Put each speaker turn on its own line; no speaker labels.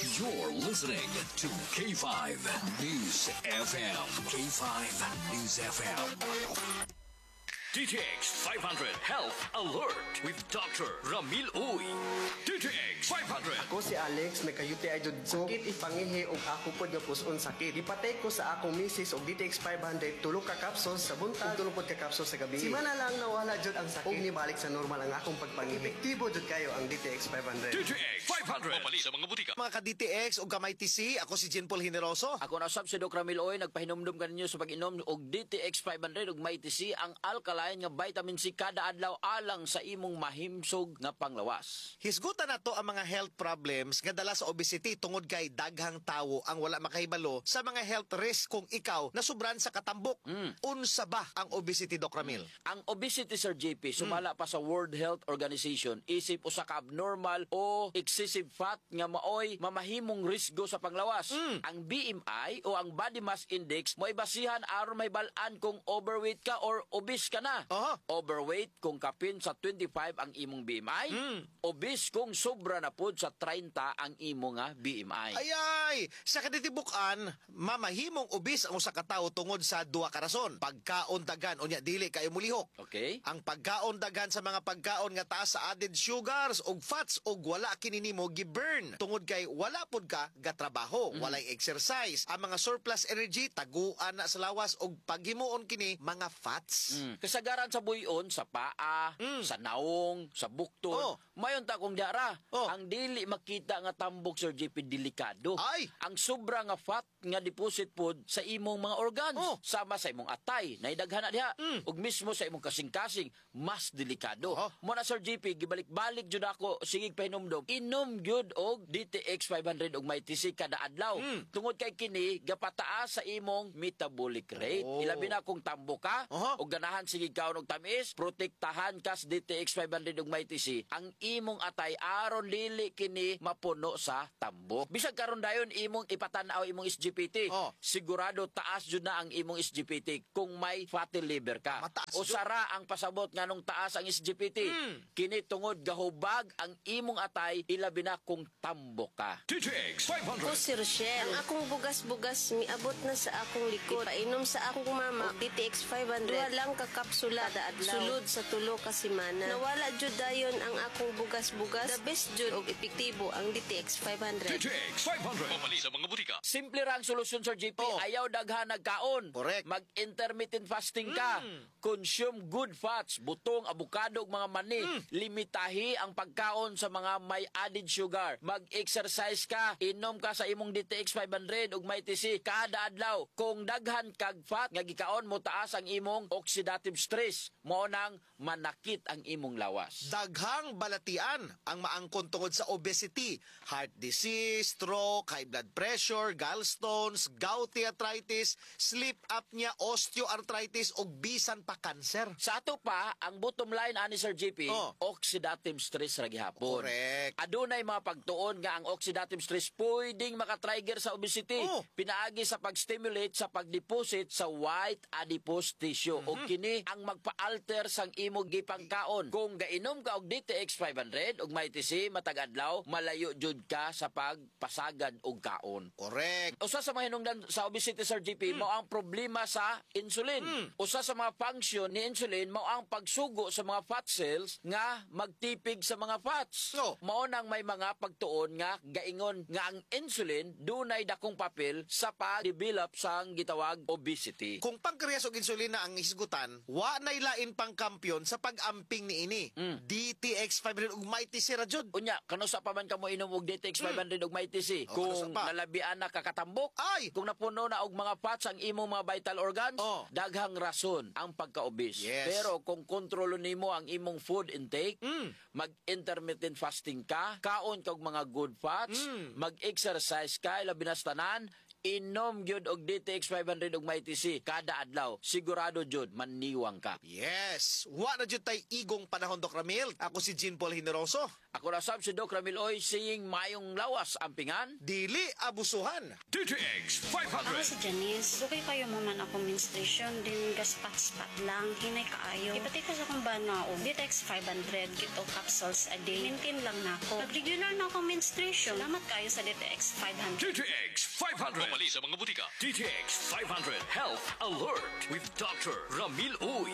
You're listening to K5 News FM. K5 News FM. DTX 500 Health Alert with Dr. Ramil Uy. DTX 500.
Ako si Alex, nagka-UTI jud ko. Sakit ipangihi og ako pod nga puson sakit. Gipatay ko sa akong misis og DTX 500, tulo ka capsules sa buntag, tulo pod ka capsules sa gabi. Simana lang nawala jud ang sakit. Ug nibalik sa normal ang akong pagpangihi. Epektibo jud kayo ang DTX 500.
DTX 500. Papalit sa mga butika.
Mga ka-DTX ug ka-MyTC, ako si Jean Paul Generoso.
Ako na usab si Doc Ramil Oy, nagpahinumdum kaninyo sa pag-inom og DTX 500 ug Mighty C, ang alkaline nga vitamin C, kada adlaw alang sa imong mahimsog nga panglawas.
Hisgutan nato ang mga health problems nga dala sa obesity tungod kay daghang tawo ang wala makahibalo sa mga health risk kung ikaw nasubran sa katambok. Unsa ba ang obesity, Doc Ramil?
Ang obesity, Sir JP, sumala pa sa World Health Organization, isip usa ka abnormal o excessive fat nga maoy mamahimong risgo sa panglawas. Ang BMI o ang Body Mass Index mo'y basihan aron mahibal-an kung overweight ka or obese ka na. Overweight kung kapin sa 25 ang imong BMI, obese kung sobra na pod sa 30 ang imong nga BMI.
Ay ay, sa kinatibukan, mamahimong obese ang usa ka tawo tungod sa duha ka rason. Pagkaon daghan unya dili kayo mulihok. Ang pagkaon daghan sa mga pagkaon nga taas sa added sugars ug fats ug wala kini nimo gi-burn tungod kay wala pud ka gatrabaho, walay exercise. Ang mga surplus energy taguan na sa lawas ug paghimuon kini mga fats.
Kasagaran sa buyon, sa paa, sa naong, sa bukton. Mayon ta kung diara. Ang dili makita nga tambok, Sir JP, delikado.
Ay!
Ang sobra nga fat nga deposit pod sa imong mga organs. Sama sa imong atay, naidaghan na diha. Ug mismo sa imong kasing-kasing, mas delikado. Mo na, Sir JP, gibalik-balik jud ako sige pahinumdom. Inom gyud og DTX 500 ug Mighty C kada adlaw. Tungod kay kini gapataas sa imong metabolic rate. Ilabi na kung tambok ka ug ganahan sige kaon og tamis, protektahan ka sa DTX 500 ug Mighty C ang imong atay aron dili kini mapuno sa tambok. Bisag karon dayon imong ipatan-aw imong SGPT. Sigurado taas jud na ang imong SGPT kung may fatty liver ka.
Mataas
O
jud.
sara ang pasabot nganong taas ang SGPT. Kini tungod gahubag ang imong atay, ilabi na kung tambok ka.
DTX 500.
Ako si Rochelle. Ang akong bugas-bugas miabot na sa akong likod. Painom sa akong mama og DTX 500. Duha lang ka kapsula kada adlaw. Sulod sa tulo ka semana. Nawala jud dayon ang akong bugas-bugas. The best jud og epektibo ang DTX 500.
DTX 500. Papalit sa mga butika.
Simple ra ang solusyon, Sir JP. Ayaw daghan nagkaon. Mag-intermittent fasting ka. Consume good fats, butong, abukado ug mga mani. Limitahi ang pagkaon sa mga may added sugar. Mag-exercise ka. Inom ka sa imong DTX 500 ug Mighty C kada adlaw. Kung daghan kag fat nga gikaon mo, taas ang imong oxidative stress. Mao nang manakit ang imong lawas.
Daghang balatian ang maangkon tungod sa obesity: heart disease, stroke, high blood pressure, gallstones, gouty arthritis, sleep apnea, osteoarthritis ug bisan pa cancer.
Sa ato pa, ang bottom line ani, Sir JP, oxidative stress ra gihapon. Adunay mga pagtuon nga ang oxidative stress pwedeng makatrigger sa obesity pinaagi sa pag-stimulate sa pag-deposit sa white adipose tissue. Ug kini ang magpa-alter sang imong gipangkaon. Kung gainom ka og DTX 500 ug Mighty C matag adlaw, malayo jud ka sa pagpasagad og kaon. Usa sa mga hinungdan sa obesity, Sir JP, mao ang problema sa insulin. Usa sa mga function ni insulin mao ang pagsugo sa mga fat cells nga magtipig sa mga fats. Mao nang may mga pagtuon nga gaingon nga ang insulin dunay dakong papel sa pag-develop sang gitawag obesity.
Kung pancreas ug insulina ang hisgutan, wa nay lain pang kampiyon sa pag-amping niini. DTX 500 ug Mighty C ra jud.
Unya, kanusa pa man kamo inom og DTX 500 ug Mighty C?
Oh,
Kung
kanusa pa?
nalabian na kakatambok,
Ay!
kung napuno na og mga fats ang imong mga vital organs, daghang rason ang pagka-obese. Pero kung kontrolo nimo ang imong food intake, mag-intermittent fasting ka, kaon kag mga good fats, mag-exercise ka, ilabi na sa tanan, Inom gyud og DTX 500 ug Mighty C kada adlaw. Sigurado jud maniwang ka.
Yes, wa na jud tay igong panahon, Doc Ramil. Ako si Jean Paul Generoso.
Ako ra sab si Doc Ramil Oy, saying mayong lawas ampingan.
Dili abusuhan.
DTX
Ako
500.
si Janice. Dugay kayo mo man ako menstruation din gaspat-spat lang. Hinay kaayo. Ipati ko sa akong bana og DTX 500 gito capsules a day. Maintain lang nako. Nag-regular na ako menstruation. Salamat kayo sa DTX 500.
DTX 500. Pamali sa mga butika. DTX 500 Health Alert with Dr. Ramil Uy.